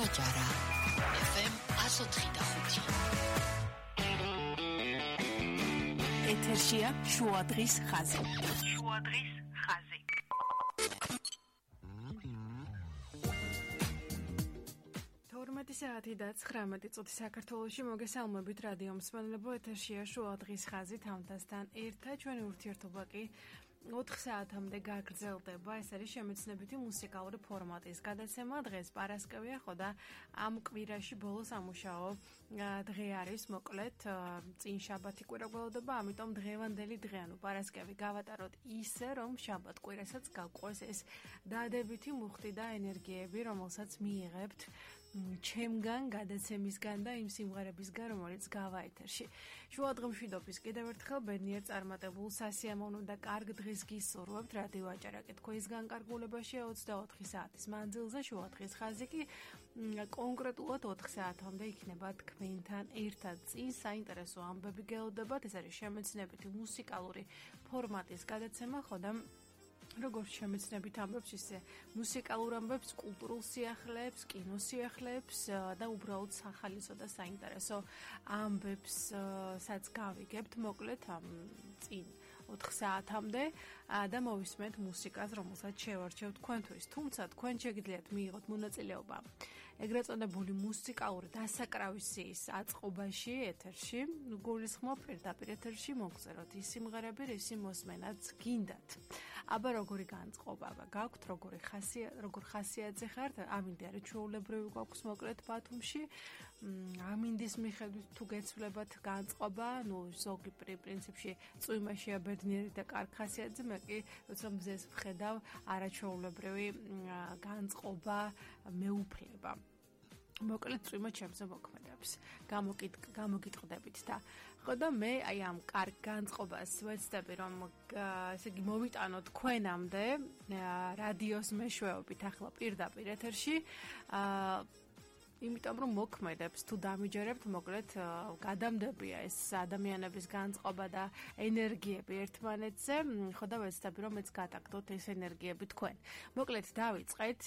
აჯარა FM 104.5 ეთერშია შუადღის ხაზი. შუადღის ხაზი. საათი და 19 წუთი საქართველოში მოგესალმებით რადიო მსმენელებო ეთერშია შუადღის ხაზი თამთასთან ერთად ჩვენი ურთიერთობა კი 4 საათამდე გაგრძელდება. ეს არის შემეცნებითი მუსიკალური ფორმატის გადაცემა. დღეს პარასკევია ხო და ამ კვირაში ბოლოს ამუშაო დღე არის მოკლედ წინ შაბათი კვირა გველოდება, ამიტომ დღევანდელი დღე ანუ პარასკევი გავატაროთ ისე რომ შაბათ კვირასაც გავყვეს ეს დადებითი მუხტი და ენერგიები, რომელსაც მიიღებთ ჩემგან გადაცემისგან და იმ სიმღერებისგან, რომელიც გავა ეთერში. შუადღემშვიდობის კიდევ ერთხელ ბედნიერ წარმატებულ სასიამოვნო და კარგ დღეს გისურვებთ რადიო აჭარაკეთ თქვენს განკარგულებაში 24 საათის მანძილზე შუადღის ხაზი კი კონკრეტულად 4 საათამდე იქნება თქვენთან ერთად. წინ საინტერესო ამბები გელოდებათ, ეს არის შემეცნებითი მუსიკალური ფორმატის გადაცემა, ხო და როგორც შემეცნებით ამბებს, ისე მუსიკალურ ამბებს, კულტურულ სიახლეებს, კინოსიახლეებს და უბრალოდ სახალისო და საინტერესო ამბებსაც გავიგებთ, მოკლედ ამ წინ 4 საათამდე და მოვისმენთ მუსიკას, რომელსაც შევარჩევთ თქვენთვის. თუმცა თქვენ შეგიძლიათ მიიღოთ მონაწილეობა ეგრეთ წოდებული მუსიკალური დასაკრავისის აწყობაში ეთერში, გულისხმობ პირდაპირ ეთერში მოგწეროთ ის სიმღერები, რისი მოსმენაც გინდათ. აბა როგორი განწყობა გაქვთ, როგორ ხასიათზე ხართ, ამინდი არის ჩვეულებრივი გვაქვს მოკლედ ბათუმში, ამინდის მიხედვით თუ გეცვლებათ განწყობა, ნუ ზოგი პრინციპში წვიმაშია ბედნიერი და კარგ ხასიათზე, მე კი როცა მზეს ვხედავ არაჩვეულებრივი განწყობა მეუფლება. მოკლედ წვიმა ჩემზე მოქმედებს. გამოგიტყდებით და ხო და მე აი ამ კარგ განწყობას ვეცდები რომ ესე იგი მოვიტანო თქვენამდე რადიოს მეშვეობით ახლა პირდაპირ ეთერში იმიტომ რომ მოქმედებს თუ დამიჯერებთ მოკლედ გადამდებია ეს ადამიანების განწყობა და ენერგიები ერთმანეთზე ხო და ვეცდები რომ მეც გადაგდოთ ეს ენერგიები თქვენ მოკლედ დავიწყეთ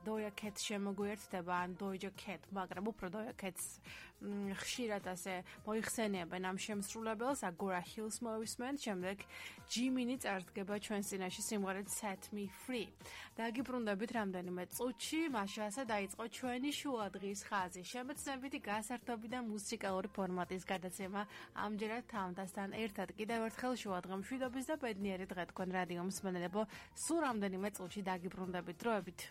Doja Cat შემოგვიერთდება ან Doja Cat მაგრამ უფრო Doja Cats ხშირად ასე მოიხსენიებენ ამ შემსრულებელს Agora Hills მოვისმენთ შემდეგ ჯიმინი წარდგება ჩვენს წინაშე სიმღერით Set Me Free დაგიბრუნდებით რამდენიმე წუთში მაშასა დაიწყო ჩვენი შუადღის ხაზი შემეცნებითი გასართობი და მუსიკალური ფორმატის გადაცემა ამჯერად თამთასთან ერთად კიდევ ერთხელ შუადღემშვიდობის და ბედნიერი დღე თქვენ რადიო მსმენელებო სულ რამდენიმე წუთში დაგიბრუნდებით დროებით